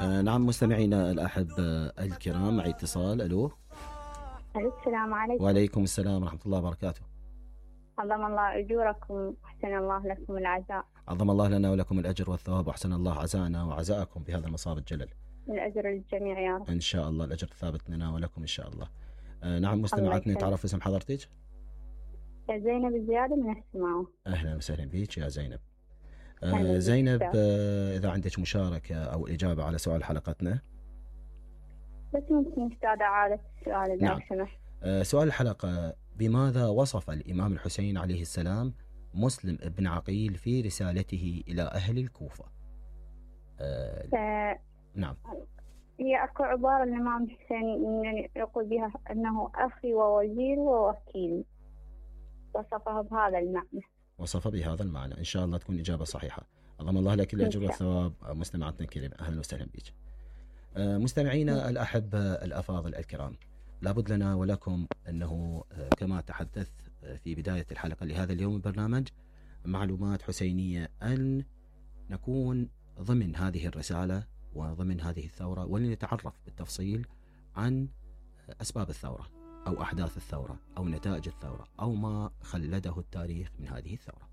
نعم مستمعينا الأحبة الكرام، معي اتصال. ألو. السلام عليكم. وعليكم السلام ورحمة الله وبركاته. عظم الله أجوركم وأحسن الله لكم العزاء. عظم الله لنا ولكم الأجر والثواب، وأحسن الله عزاءنا وعزاءكم بهذا المصاب الجلل. الأجر للجميع يا رب. إن شاء الله الأجر ثابت لنا ولكم إن شاء الله. نعم مستمعاتنا، تعرف اسم حضرتك؟ زينب الزيادة من السماوة. أهلا وسهلا بك يا زينب. زينب، إذا عندك مشاركة أو إجابة على سؤال حلقتنا. بس ممكن أستاذ عادة السؤال إذا سمحت. سؤال الحلقة: بماذا وصف الإمام الحسين عليه السلام مسلم بن عقيل في رسالته إلى أهل الكوفة؟ نعم. هي أكو عبارة الإمام الحسين يعني يقول بها أنه أخي ووزير ووكيل، وصفه بهذا المعنى. وصف بهذا المعنى. إن شاء الله تكون إجابة صحيحة. عظم الله لك الأجر والثواب. مستمعاتنا الكريمة، أهلا وسهلا بك. مستمعينا الأحبة الأفاضل الكرام، لابد لنا ولكم أنه كما تحدث في بداية الحلقة لهذا اليوم البرنامج معلومات حسينية، أن نكون ضمن هذه الرسالة وضمن هذه الثورة، ولنتعرف بالتفصيل عن أسباب الثورة أو أحداث الثورة أو نتائج الثورة أو ما خلده التاريخ من هذه الثورة.